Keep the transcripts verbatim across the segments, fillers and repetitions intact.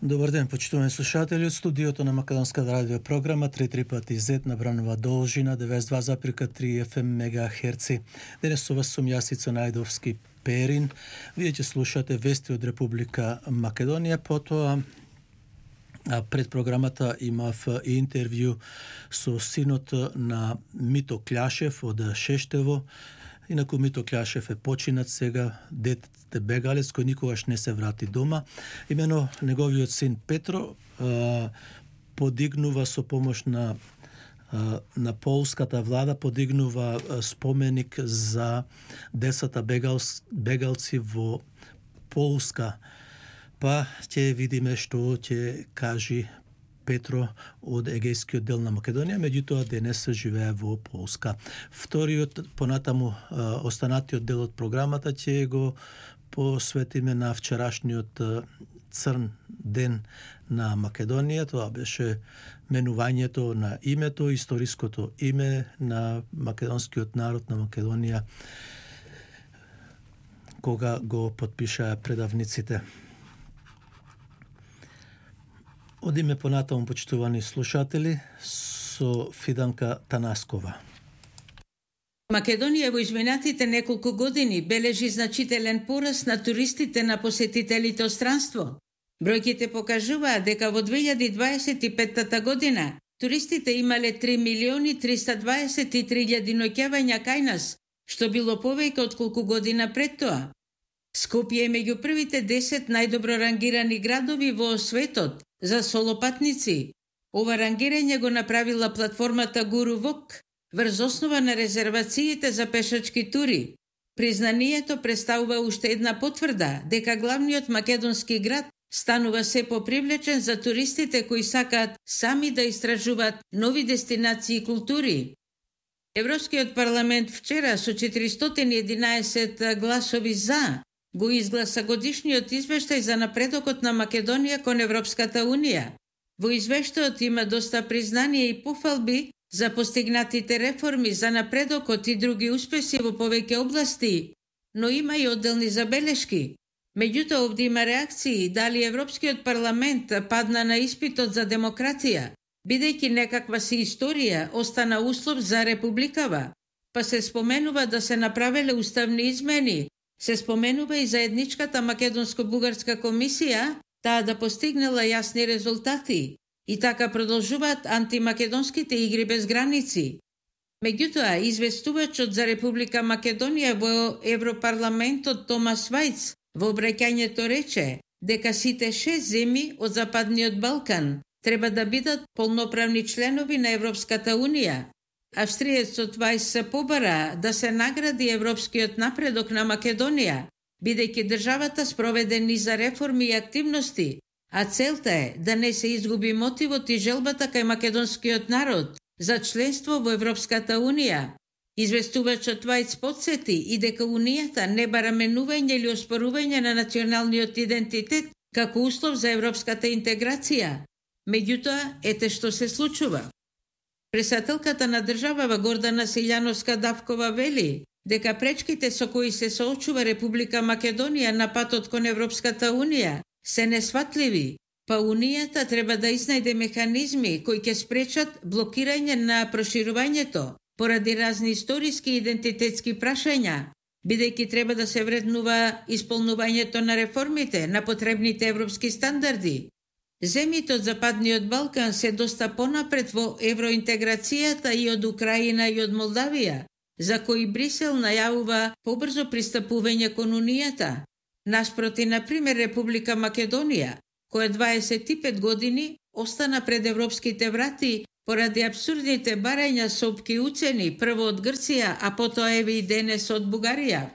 Добар ден, почитувани слушатели, од студиото на Македонска радио програма три три пати зет на бранова должина деветдесет и два запирка три еф ем мегахерци. Денес со вас сум Јасица Најдовски Перин. Вие ќе слушате вести од Република Македонија, потоа а пред програмата имав интервју со синот на Мито Кљашев од Шештево. Инаку Мито Кљашев е починат сега, дете бегалец кој никогаш не се врати дома. Имено неговиот син Петро а, подигнува со помош на а, на полската влада, подигнува а, споменик за десета бегалс, бегалци во Полска. Па ќе видиме што ќе кажи Петро од Егејскиот дел на Македонија, меѓутоа денес живее во Полска. Вториот, понатаму останатиот дел од програмата ќе го посветиме на вчерашниот црн ден на Македонија. Тоа беше менувањето на името, историското име на македонскиот народ на Македонија, кога го потпишаа предавниците. Одиме понатаму, почитувани слушатели, со Фиданка Танаскова. Македонија во изминатите неколку години бележи значителен пораст на туристите на посетителите од странство. Бројките покажуваат дека во две илјади дваесет и петта година туристите имале три милиони триста дваесет и три илјади ноќавања кај нас, што било повеќе од колку година пред тоа. Скопје е меѓу првите десет најдобро рангирани градови во светот за солопатници. Ова рангирање го направила платформата GuruValk врз основа на резервациите за пешачки тури. Признанието представува уште една потврда дека главниот македонски град станува се попривлечен за туристите кои сакаат сами да истражуваат нови дестинации и култури. Европскиот парламент вчера со четиристотини и единаесет гласови за го изгласа годишниот извештај за напредокот на Македонија кон Европската Унија. Во извештајот има доста признание и пофалби за постигнатите реформи, за напредокот и други успеси во повеќе области, но има и одделни забелешки. Меѓутоа, овде има реакции дали Европскиот парламент падна на испитот за демократија, бидејќи некаква си историја остана услов за републикава, па се споменува да се направеле уставни измени. Се споменува и заедничката македонско-бугарска комисија, таа да постигнела јасни резултати, и така продолжуваат антимакедонските игри без граници. Меѓутоа, известувачот за Република Македонија во Европарламентот Томас Вајц во обраќањето рече дека сите шест земји од Западниот Балкан треба да бидат полноправни членови на Европската Унија. Австриецот Вајс се побара да се награди европскиот напредок на Македонија, бидејќи државата спроведе низа реформи и активности, а целта е да не се изгуби мотивот и желбата кај македонскиот народ за членство во Европската Унија. Известувачот Вајц потсети и дека Унијата не бара менување или оспорување на националниот идентитет како услов за европската интеграција. Меѓутоа, ете што се случува. Председателката на државава Гордана Силјановска-Давкова вели дека пречките со кои се соочува Република Македонија на патот кон Европската Унија се несватливи, па Унијата треба да изнајде механизми кои ќе спречат блокирање на проширувањето поради разни историски и идентитетски прашања, бидејќи треба да се вреднува исполнувањето на реформите на потребните европски стандарди. Земјите од Западниот Балкан се доста понапред во евроинтеграцијата и од Украина и од Молдавија, за кои Брисел најавува побрзо пристапување кон Унијата. Наспроти, например, Република Македонија, која дваесет и пет години остана пред европските врати поради абсурдните барања со опки уцени, прво од Грција, а потоа еве и денес од Бугарија.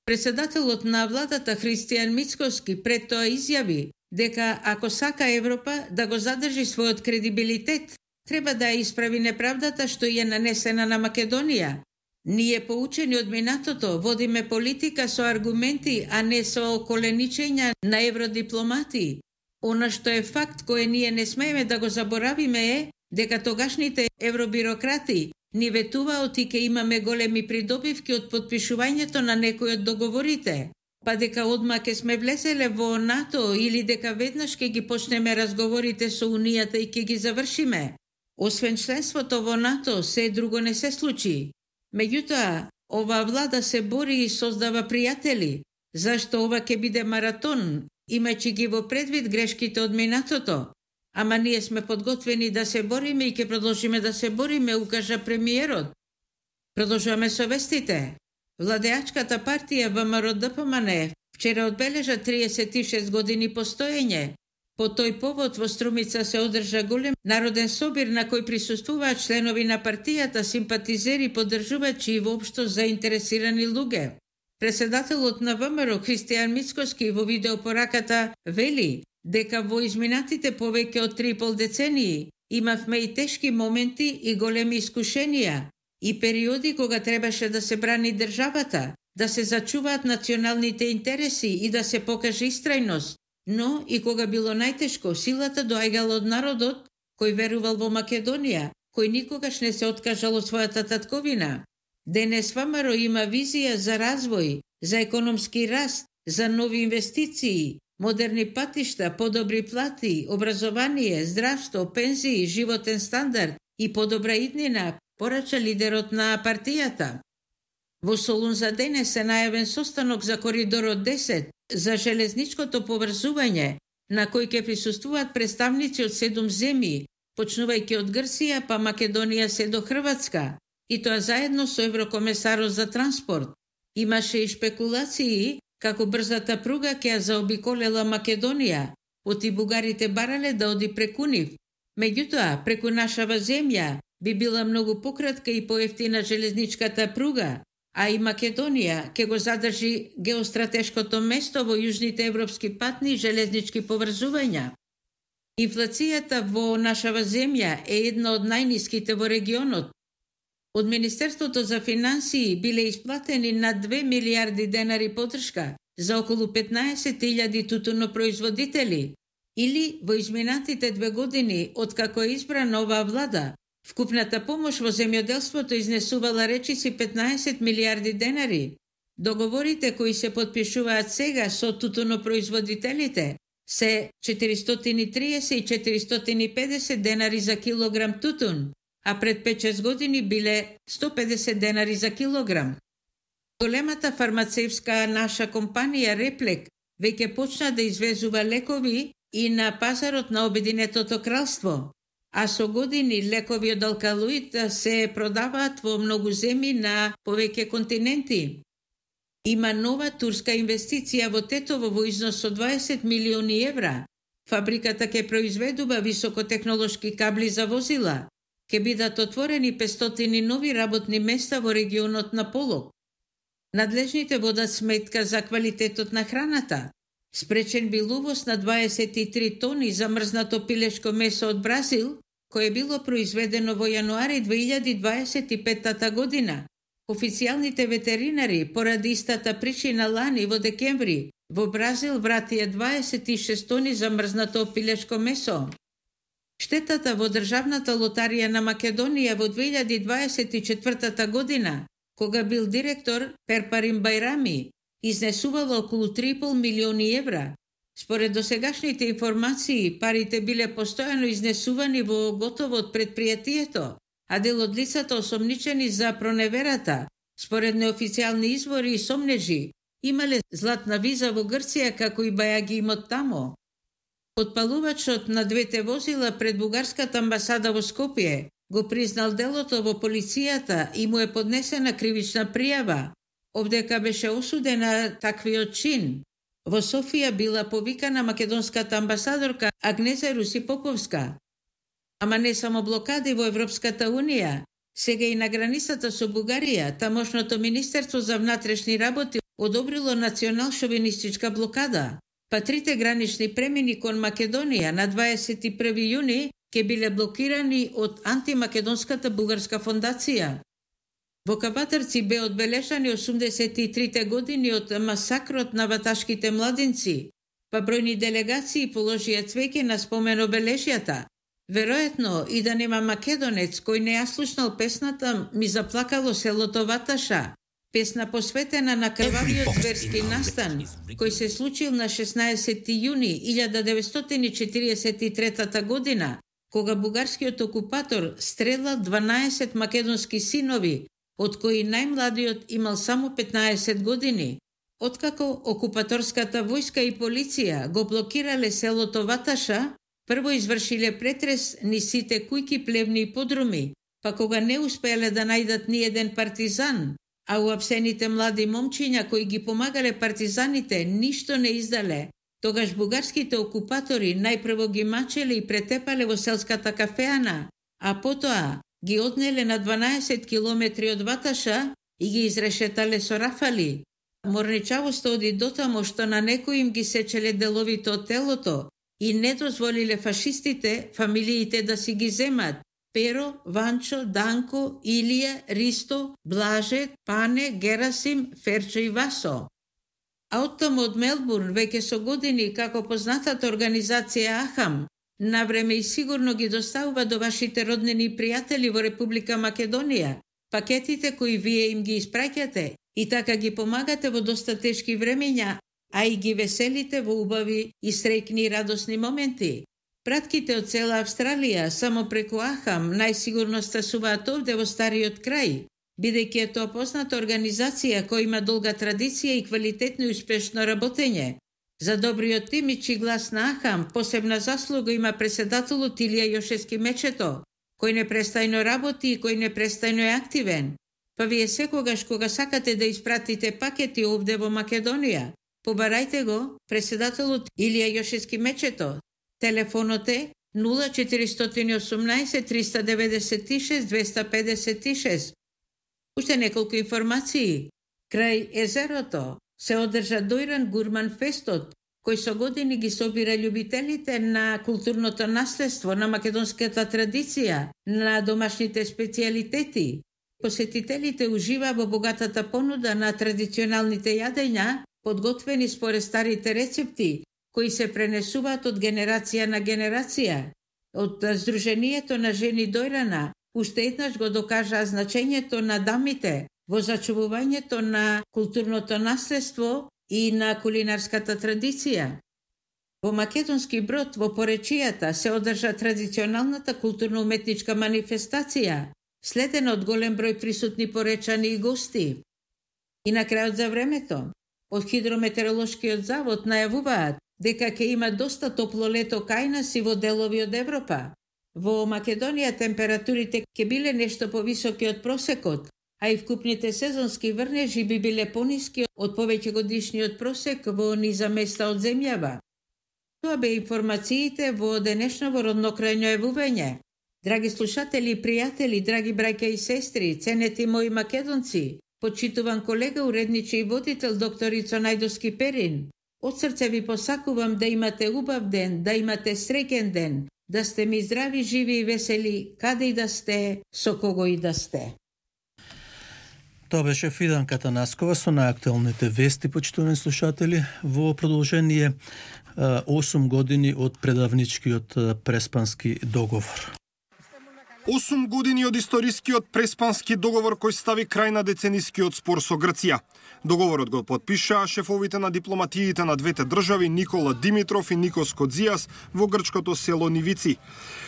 Председателот на владата Христијан Мицкоски пред тоа изјави дека ако сака Европа да го задржи својот кредибилитет, треба да ја исправи неправдата што ја нанесена на Македонија. Ние, поучени од минатото, водиме политика со аргументи, а не со околеничења на евродипломати. Она што е факт кој ние не смееме да го заборавиме е дека тогашните евробирократи ни ветуваат и ке имаме големи придобивки од потпишувањето на некои од договорите. па дека одма ке сме влезеле во НАТО или дека веднаш ке ги почнеме разговорите со Унијата и ке ги завршиме. Освен членството во НАТО, се друго не се случи. Меѓутоа, ова влада се бори и создава пријатели, зашто ова ке биде маратон, имајќи ги во предвид грешките од минатото. Ама ние сме подготвени да се бориме и ке продолжиме да се бориме, укажа премиерот. Продолжуваме со вестите. Владеачката партија ВМРО-ДПМН вчера одбележа триесет и шест години постоење. По тој повод во Струмица се одржа голем народен собир на кој присуствуваат членови на партијата, симпатизери, поддржувачи и воопшто заинтересирани луѓе. Председателот на ВМРО Христијан Мицкоски во видеопораката вели дека во изминатите повеќе од три и пол децении имавме и тешки моменти и големи искушенија и периоди кога требаше да се брани државата, да се зачуваат националните интереси и да се покаже истрајност, но и кога било најтешко, силата доаѓала од народот кој верувал во Македонија, кој никогаш не се откажал од својата татковина. Денес ВМРО има визија за развој, за економски раст, за нови инвестиции, модерни патишта, подобри плати, образование, здравство, пензии, животен стандард и подобра иднина, порача лидерот на партијата. Во Солун за денес е најавен состанок за коридорот десет, за железничкото поврзување, на кој ќе присуствуваат представници од седум земји, почнувајќи од Грција па Македонија се до Хрватска, и тоа заедно со еврокомесарот за транспорт. Имаше и шпекулации како брзата пруга ќе ја заобиколела Македонија, оти бугарите барале да оди преку нив. Меѓутоа, преку нашава земја би била многу пократка и поевтина железничката пруга, а и Македонија ќе го задржи геостратешкото место во јужните европски патни и железнички поврзувања. Инфлацијата во нашава земја е една од најниските во регионот. Од Министерството за финансии биле исплатени на две милиарди денари поддршка за околу петнаесет илјади тутунопроизводители, или во изминатите две години откако е избрана оваа влада, вкупната помош во земјоделството изнесувала речиси петнаесет милиарди денари. Договорите кои се потпишуваат сега со тутунопроизводителите се четиристотини и триесет и четиристотини и педесет денари за килограм тутун, а пред пет-шест години биле сто педесет денари за килограм. Големата фармацевска наша компанија Реплек веќе почна да извезува лекови и на пазарот на Обединетото кралство, а со години лекови од алкалоид се продаваат во многу земји на повеќе континенти. Има нова турска инвестиција во Тетово во износ од дваесет милиони евра. Фабриката ќе произведува високотехнолошки кабли за возила. Ќе бидат отворени петстотини нови работни места во регионот на Полог. Надлежните водат сметка за квалитетот на храната. Спречен бил увоз на дваесет и три тони замрзнато пилешко месо од Бразил, кое било произведено во јануари две илјади дваесет и петта година. Официјалните ветеринари, поради истата причина лани во декември, во Бразил вратија дваесет и шест тони замрзнато пилешко месо. Штетата во Државната лотарија на Македонија во две илјади дваесет и четврта година, кога бил директор Перпарим Бајрами, изнесувала околу три и пол милиони евра. Според досегашните информации, парите биле постојано изнесувани во готово од предпријатието, а дел од лицата осомничени за проневерата, според неофицијални извори и сомнежи, имале златна виза во Грција како и бајаги имот тамо. Подпалувачот на двете возила пред бугарската амбасада во Скопје го признал делото во полицијата и му е поднесена кривична пријава, обдека беше осудена таквиот чин. Во Софија била повикана македонската амбасадорка Агнеза Руси Поповска. Ама не само блокади во Европската Унија, сега и на границата со Бугарија, тамошното Министерство за внатрешни работи одобрило национал-шовинистичка блокада, па трите гранични премини кон Македонија на дваесет и први јуни ќе биле блокирани од антимакедонската бугарска фондација. Во Кабатарци бе одбележани осумдесет и трите години од масакрот на ваташките младинци, па бројни делегации положија цвеќе на спомен обележјата. Веројатно и да нема македонец кој не ја слушнал песната «Ми заплакало селото Ваташа», Песна посветена на крвавиот зверски настан, кој се случил на шеснаесети јуни илјада деветстотини четиридесет и трета година, кога бугарскиот окупатор стрелал дванаесет македонски синови, од кои најмладиот имал само петнаесет години. Откако окупаторската војска и полиција го блокирале селото Ваташа, прво извршиле претрес низ сите кујки, плевни и подруми, па кога не успеале да најдат ни еден партизан, а уапсените млади момчиња кои ги помагале партизаните ништо не издале, тогаш бугарските окупатори најпрво ги мачеле и претепале во селската кафеана, а потоа ги однеле на дванаесет километри од Ваташа и ги изрешетале со рафали. Морничавоста оди дотамо што на некои им ги сечеле деловите од телото и не дозволиле фашистите фамилиите да си ги земат: Перо, Ванчо, Данко, Илија, Ристо, Блаже, Пане, Герасим, Ферчо и Васо. А оттаму од Мелбурн, веќе со години како познатата организација Ахам, навреме и сигурно ги доставува до вашите роднини и пријатели во Република Македонија пакетите кои вие им ги испраќате и така ги помагате во доста тешки времења, а и ги веселите во убави и среќни и радосни моменти. Пратките од цела Австралија само преку Ахам најсигурно стасуваат овде во стариот крај, бидејќи е тоа позната организација која има долга традиција и квалитетно и успешно работење. За добриот имидж и глас на Ахам посебна заслуга има преседателот Илија Јошевски Мечето, кој непрестајно работи и кој непрестајно е активен. Па вие секогаш кога сакате да испратите пакети овде во Македонија, побарајте го преседателот Илија Јошевски Мечето. Телефонот е нула четиристотини и осумнаесет триста деветдесет и шест двеста педесет и шест. Уште неколку информации. Крај езерото се одржа Дојран Гурман Фестот, кој со години ги собира љубителите на културното наследство, на македонската традиција, на домашните специјалитети. Посетителите ужива во богатата понуда на традиционалните јадења, подготвени според старите рецепти, кои се пренесуваат од генерација на генерација. Од Сдруженијето на жени Дојрана уште еднаш го докажаа значењето на дамите во зачувувањето на културното наследство и на кулинарската традиција. Во Македонски Брод, во поречијата, се одржа традиционалната културно-уметничка манифестација, следена од голем број присутни поречани и гости. И на крајот за времето, од Хидрометеоролошкиот завод најавуваат дека ќе има доста топло лето кај нас и во делови од Европа. Во Македонија температурите ќе биле нешто повисоки од просекот, а и вкупните сезонски врнежи би биле пониски од повеќе годишниот просек во низа места од земјава. Тоа бе информациите во денешново роднокрајно јавување. Драги слушатели и пријатели, драги браќа и сестри, ценети мои македонци, почитуван колега, уредниче и водител доктор Ицо Најдовски Перин, од срце ви посакувам да имате убав ден, да имате среќен ден, да сте ми здрави, живи и весели, каде и да сте, со кого и да сте. Тоа беше Фиданка Танаскова со најактуелните вести, почитувани слушатели, во продолжение осум години од предавничкиот Преспански договор. осум години од историскиот Преспански договор кој стави крај на деценискиот спор со Грција. Договорот го подпишаа шефовите на дипломатиите на двете држави Никола Димитров и Никос Кодзијас во грчкото село Нивици.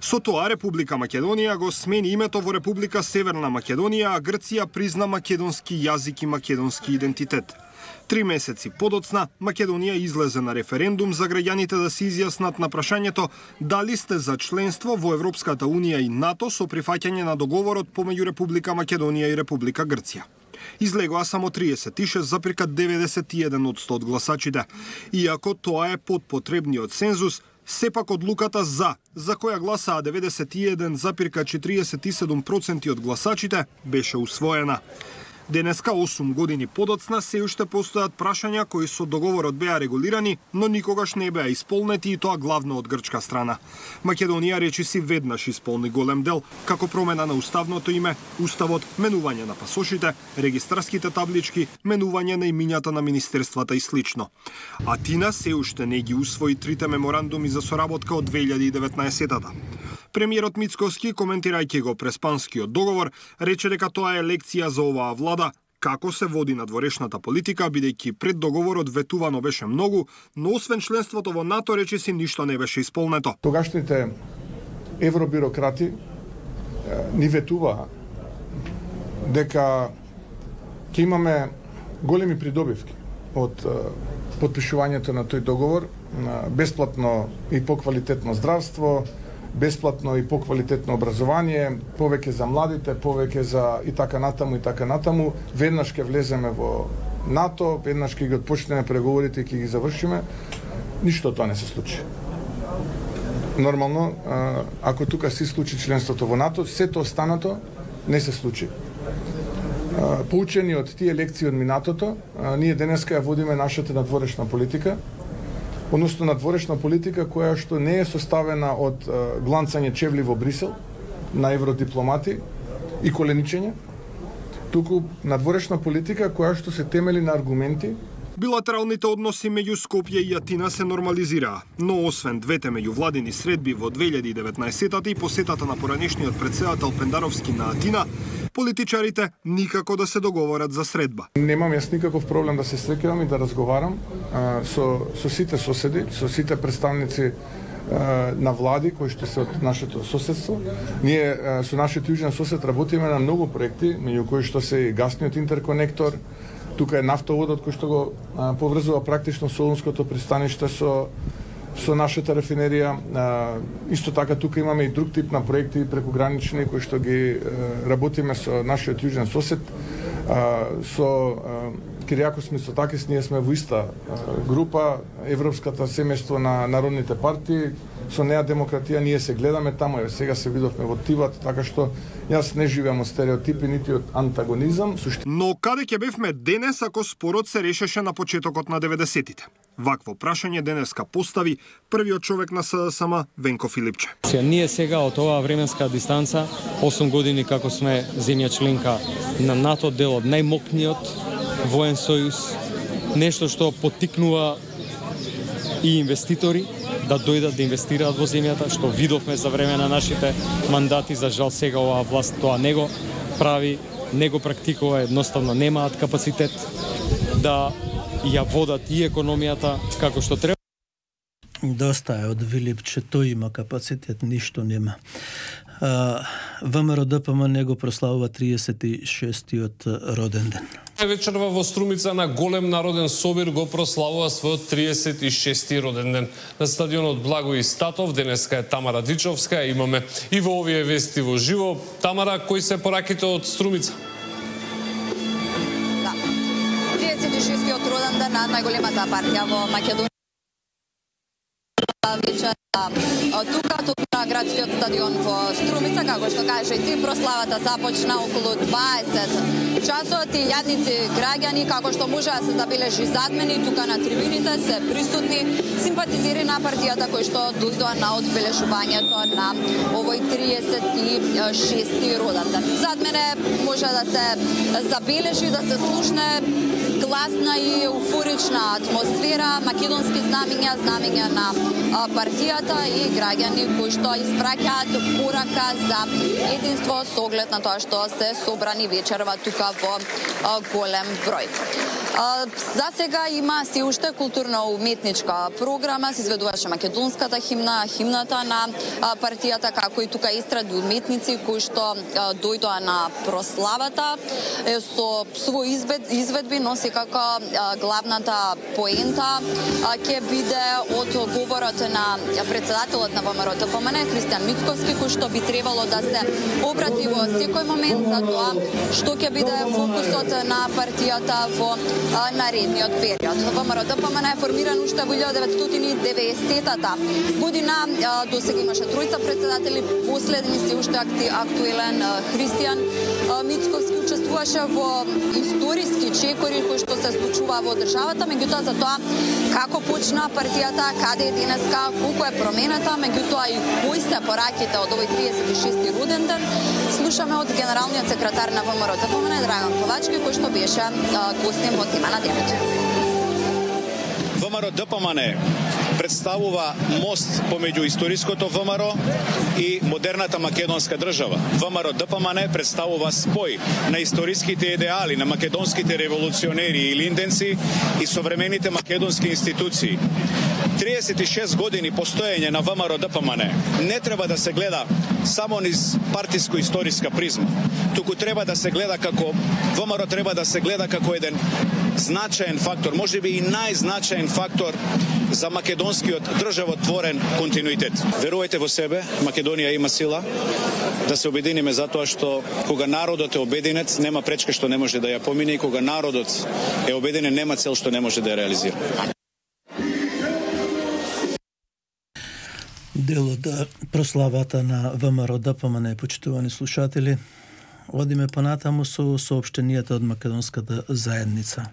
Со тоа Република Македонија го смени името во Република Северна Македонија, а Грција призна македонски јазик и македонски идентитет. Три месеци подоцна, Македонија излезе на референдум за граѓаните да се изјаснат на прашањето дали сте за членство во Европската Унија и НАТО со прифаќање на договорот помеѓу Република Македонија и Република Грција. Излегоа само триесет и шест запирка деветдесет и еден одсто од гласачите. Иако тоа е под потребниот цензус, сепак одлуката за, за која гласаа деветдесет и еден запирка четириесет и седум проценти од гласачите, беше усвоена. Денеска, осум години подоцна, се уште постојат прашања кои со договорот беа регулирани, но никогаш не беа исполнети и тоа главно од грчка страна. Македонија речиси веднаш исполни голем дел, како промена на уставното име, уставот, менување на пасошите, регистарските таблички, менување на имињата на министерствата и слично. Атина се уште не ги усвои трите меморандуми за соработка од две илјади и деветнаесетата. Премиерот Мицкоски, коментирајќи го Преспанскиот договор, рече дека тоа е лекција за оваа влада, како се води надворешната политика, бидејќи пред договорот ветувано беше многу, но освен членството во НАТО речиси ништо не беше исполнето. Тогашните евробирократи ни ветуваа дека ќе имаме големи придобивки од потпишувањето на тој договор, бесплатно и поквалитетно здравство, бесплатно и поквалитетно образование, повеќе за младите, повеќе за и така натаму и така натаму. Веднаш ќе влеземе во НАТО, веднаш ќе ги отпочнеме преговорите и ќе ги завршиме. Ништо тоа не се случи. Нормално, ако тука се случи членството во НАТО, сето останато не се случи. Поучени од тие лекции од минатото, ние денеска ја водиме нашата надворешна политика, односно надворешна политика која што не е составена од гланцање чевли во Брисел на евродипломати и коленичење, туку надворешна политика која што се темели на аргументи. Билатералните односи меѓу Скопје и Атина се нормализираа, но освен двете меѓувладини средби во две илјади и деветнаесетта и посетата на поранешниот претседател Пендаровски на Атина, политичарите никако да се договорат за средба. Немам јас никаков проблем да се среќавам и да разговарам а, со, со сите соседи, со сите представници а, на влади кои што се од нашето соседство. Ние а, со нашиот јужен сосед работиме на многу проекти, меѓу кои што се и гасниот интерконектор. Тука е нафтоводот кој што го а, поврзува практично Солунското пристаниште со со нашата рафинерија. А, исто така тука имаме и друг тип на проекти прекогранични кои што ги а, работиме со нашиот јужен сосед. А, со Киријакос Мицотакис ние сме во иста а, група, Европската семејство на народните партии. Со неа демократија ние се гледаме таму, еве сега се видовме во Тиват, така што јас не живеам од стереотипи нити од антагонизам. Сушти... Но каде ќе бевме денес ако спорот се решеше на почетокот на деветдесетите? Вакво прашање денеска постави првиот човек на СДСМ Венко Филипче. Ние сега од оваа временска дистанца, осум години како сме земја членка на НАТО, дел од најмокниот воен сојуз, нешто што поттикнува и инвеститори да дојдат да инвестираат во земјата, што видовме за време на нашите мандати. За жал сега оваа власт тоа не го прави, не го практикува, едноставно немаат капацитет да ја водат и економијата како што треба. Доста е од Вилипче, тој има капацитет, ништо нема. ВМРО Д П М не го прославува триесет и шестиот роден ден. Вечерва во Струмица на голем народен собир го прославува својот триесет и шести роден ден. На стадионот Благој Статов денеска е Тамара Дичовска. Имаме и во овие вести во живо. Тамара, кои се пораките од Струмица? Да. триесет и шестиот роден ден на најголемата партија во Македонија. Вечер тука, тука на градскиот стадион во Струмица, како што каже и ти, прославата започна околу дваесет часот и јадници граѓани, како што може да се забележи зад мене, тука на трибините се присутни симпатизери на партијата кои што дојдоа на одбележувањето на овој триесет и шести роден ден. Зад мене може да се забележи, да се слушне гласна и еуфорична атмосфера, македонски знамиња, знамиња на партијата и граѓани кои што испраќаат порака за единство со оглед на тоа што се собрани вечерва тука во голем број. За сега има си уште културно-уметничка програма, се изведуваше македонската химна, химната на партијата, како и тука истради уметници кои што дојдоа на прославата со своји изведби, но секако главната поента ќе биде од говорот на председателот на ВМРО Д П М Н Христијан Мицковски, кој што би требало да се обрати во секој момент за тоа што ќе биде фокусот на партијата во наредниот период. ВМРО Д П М Н е формиран уште во илјада деветстотини и деветдесетата година. До сега имаше тројца председатели, последни се уште актуелен Христијан Мицковски учествуваше во историски чекори кои што се случува во државата, меѓутоа за тоа како почна партијата, каде е денеска, колку е промената, меѓутоа и кои се пораките од овој триесет и шести роден ден, слушаме од генералниот секретар на ВМРО Д П М Н Драган Ковачки, кој што беше гостин во тема на денот. ВМРО Д П М Н представува мост помеѓу историското ВМРО и модерната македонска држава. ВМРО-ДПМН представува спој на историските идеали на македонските револуционери и линденци и современите македонски институции. триесет и шест години постоење на ВМРО-ДПМН не треба да се гледа само низ партиско-историска призма, туку треба да се гледа како ВМРО треба да се гледа како еден значаен фактор, можеби и најзначаен фактор за македонскиот државотворен континуитет. Верувајте во себе, Македонија има сила да се обединиме затоа што кога народот е обединет, нема пречка што не може да ја помине и кога народот е обединен, нема цел што не може да ја реализира. Дел од прославата на ВМРО-ДПМН, почитувани слушатели. Одиме понатаму со соопштенијата од македонската заедница.